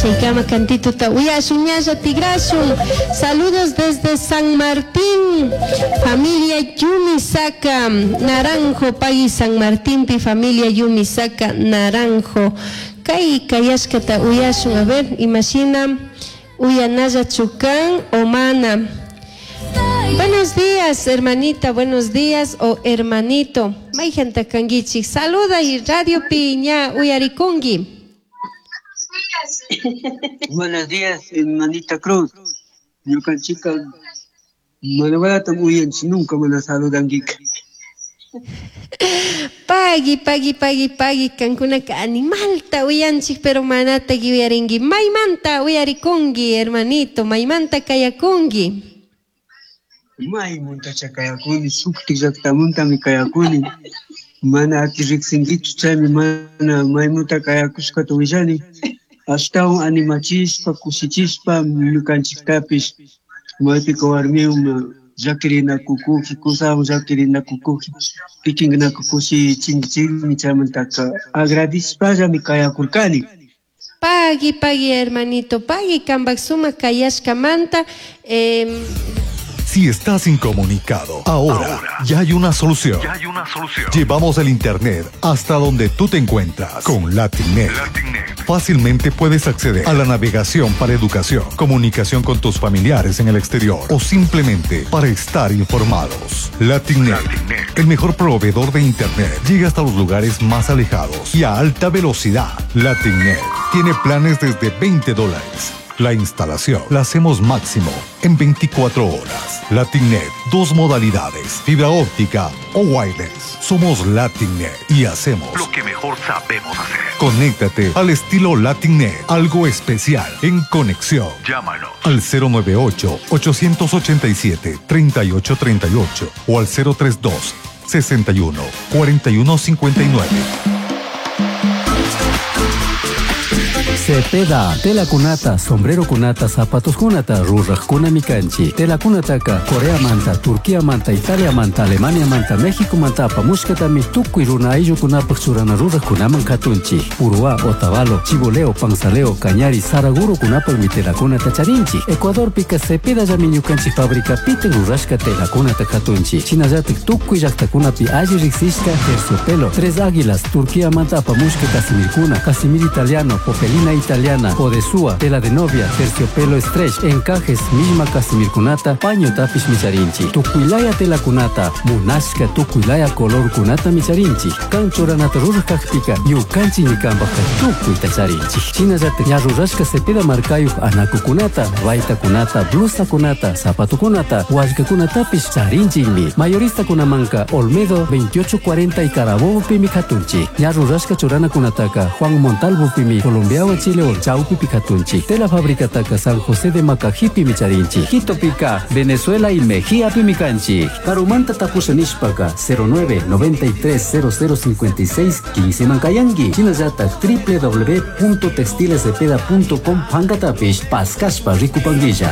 Chaykama cantituta uyashun ñalla tigrashun. Saludos desde San Martín, familia Yumisaka Naranjo, pagui San Martinpi familia Yumisaka Naranjo. Kay kayashkata uyashun, a ver, imashina uyanalla chukan o mana. Buenos días, hermanita, buenos días o hermanito. Maijanta kankichik, saluda y radio piña uyarikungi. Buenos días, hermanita Cruz. Ñukanchika mana uyanchik nunca mana saludankika. Pagui, pagui, pagui, pagui, kankunaka animalta uyanchik, pero manata uyarinki. Maymanta uyarikunki, hermanito, maymanta kayakunki. Maymuntacha kayakuni, shuktik llaqtamuntami kayakuni. Mana ati riqsinkichu chaymi mana maymunta kayakushkata willani. Ashtawan animachishpa, kushichishpa ñukanchiktapish maypika warmiwan llakirinakukuji, kusawan llakirinakukuji, kikinkunaka kushichinkichikmi chaymantaka agradishpallami kayakurkani. Pagui, pagui, hermanito, pagui, kanpak sumak kayashkamanta. Si estás incomunicado, ahora, ya hay una solución. Ya hay una solución. Llevamos el internet hasta donde tú te encuentras con LatinNet. LatinNet. Fácilmente puedes acceder a la navegación para educación, comunicación con tus familiares en el exterior o simplemente para estar informados. LatinNet, LatinNet. el mejor proveedor de internet, llega hasta los lugares más alejados y a alta velocidad. LatinNet tiene planes desde veinte dólares. La instalación la hacemos máximo en 24 horas. LatinNet, dos modalidades, fibra óptica o wireless. Somos LatinNet y hacemos lo que mejor sabemos hacer. Conéctate al estilo LatinNet, algo especial en conexión. Llámanos al cero nueve ocho, 887, 3838 o al cero tres dos, 61, 41 59. Cepeda, tela kunata, sombrero kunata, zapatos kunata, ruraj mikanchi. Tela kunataka, Corea manta, Turquía manta, Italia manta, Alemania manta, México manta, apamushkatami, tukuy runa ayllukunapaj churana rurajkunaman katunchi. Uruá, Otavalo, Chiboleo, Panzaleo, Cañari, Saraguro kunapajmi tela kunata charinchi. Ecuador pika Cepeda llami ñukanchik fábrica piten rurashka tela kunata katunchi. Shinallatik tukuy llaqtakunapi alli riqsishka terciopelo, Tres Águilas, Turquía manta apamushka casimirkuna, casimir italiano, popelina italiana, odesúa, tela de novia, terciopelo stretch, encajes, misma casimirkunata, paño tapish micharinchi, tukuilaya tela kunata, munashka tukuilaya color kunata micharinchi, kanchoranata rurajkajpika, ñukanchi ñikanpajka tukuyta charinchi. Shinallatak ña rurashka cepeda markayuj anakukunata, baytakunata, blusakunata, zapatukunata, wallkakunatapish charinchikmi. Mayoristakunamanka Olmedo 2840 y Carabobo pimi katunchi. Ña rurashka churanakunataka Juan Montalvo pimi Colombiawa Chile Chaupi Picatunchi. Tela fábrica taka San José de Macajipi micharinchi. Quito pica, Venezuela y Mejía pimicanchi. Carumanta tapusha nishpaka cero nueve noventa y tres cero cero cincuenta y seis quince mancayangui. Chinallata doble u doble u doble u punto textiles cepeda punto com pancatapish pascashpa ricupanguilla.